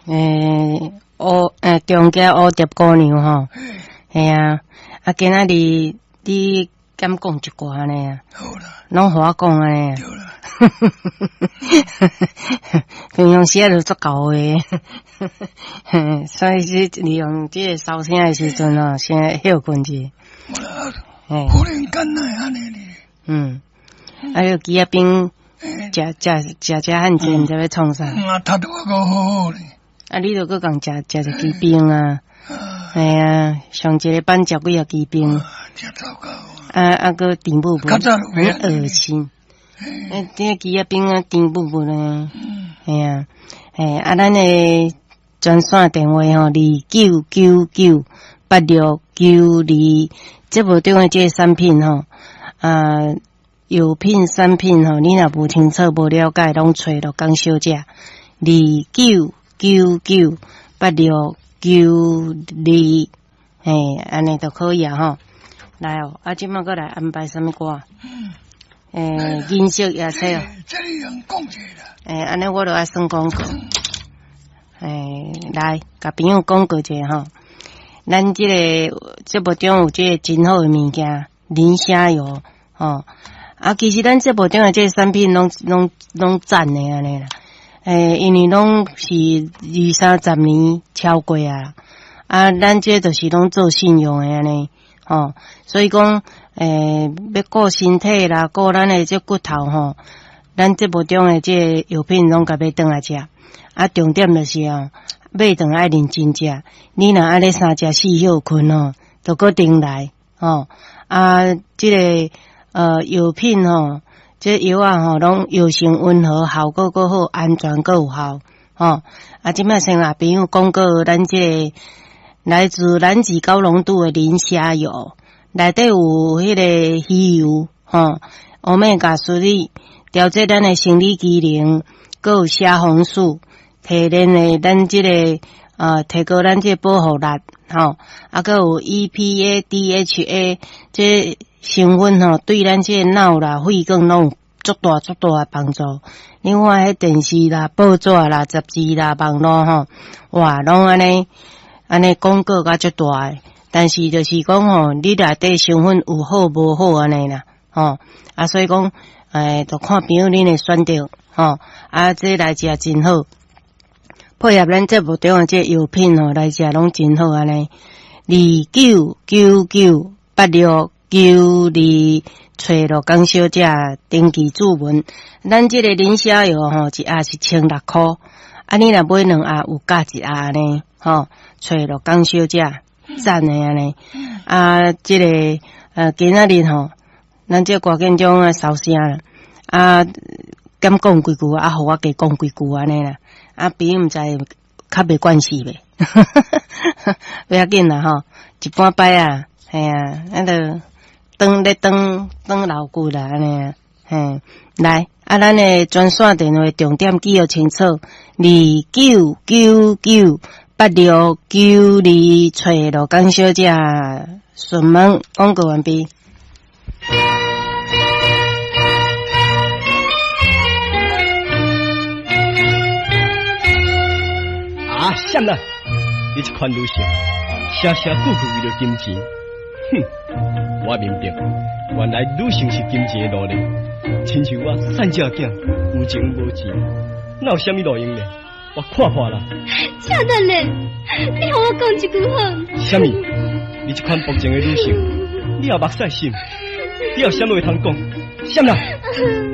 欸，烏欸中間烏蝶姑娘吼，嘿啊，啊今仔日你敢講一寡按呢啊？好啦，攏予我講按呢啊？對啦。平常時啊就足厚的，所以是利用這个收聲的時陣吼，先歇睏者。無啦，忽然間哪會按呢呢？嗯，啊，你枝仔冰食食食食漢濟，毋知欲創啥？啊，讀得我閣好好咧。啊，你著閣共食食一支冰啊？嘿啊，上一个班食幾仔支冰？真糟糕。啊啊，閣甜母母，很噁心。欸，這个枝仔冰啊，甜母母呢？嘿啊，嘿啊，咱的專線電話吼，29998692，節目中的這个產品吼，啊，藥品產品吼，你若無清楚、無了解，攏揣陸江小姐，29998692，嘿，按呢就可以啊吼。來哦，啊，這擺閣來安排啥物歌？欸，銀色夜車哦。這裡用講者啦。欸，按呢我就愛算廣告。欸，來，共朋友廣告一下吼。咱這個節目中有這個真好的物件，磷蝦油吼。啊，其實咱節目中的這個產品攏攏攏讚的按呢啦。欸，因為攏是二三十年超過啊。啊，咱這就是攏做信用的按呢，吼。所以講，欸，欲顧身體啦，顧咱的這骨頭吼，咱節目中的這個藥品攏共買轉來食。啊，重點就是哦，買轉愛認真食。你若按呢三食四歇睏吼，就閣重來吼。啊，這個藥品吼，這藥仔吼，攏藥性溫和，效果閣好，安全閣有效吼。啊，這擺先共朋友廣告，咱這個來自南極高濃度的磷蝦油，內底有彼个魚油吼，Omega 3，調節咱的生理機能，閣有蝦紅素，提煉的咱這個提高咱這個保護力吼，啊，閣有 EPA、DHA 這成分吼，對咱這個腦啦、血管攏有足大足大的幫助。你看彼電視啦、報紙啦、雜誌啦、網路吼，哇，攏按呢按呢廣告甲足大的。但是就是講吼，你內底成分有好無好按呢啦，吼啊，所以講，欸，就看朋友恁的選擇吼，啊，這來食真好，配合咱節目中的這藥品吼，來食攏真好按呢。29998692，揣陸江小姐登記注文。咱這個磷蝦油吼，一盒是1600箍，啊，你若買兩盒有加一盒呢，吼，揣陸江小姐讚的按呢。啊，這個今仔日吼，咱這歌建中啊收聲啦，啊，敢講幾句啊，予我加講幾句按呢啦，啊，朋友毋知較袂慣勢袂，不要緊啦吼，一半擺啊，嘿啊，咱就轉咧轉轉老骨啦按呢啊，嘿，來，啊，咱的專線電話重點記予清楚，29998692，揣陸江小姐順問廣告完畢。啊，啥啦？你這款女性，聲聲句句為著金錢，哼！我明白，原來女性是金錢的奴隸，親像我瘦隻囝，有情無錢，哪有啥物路用呢？我看破啦。請等咧，你予我講一句好。啥物？你這款薄情的女性，你也目屎心，你有啥物話通講？啥啦？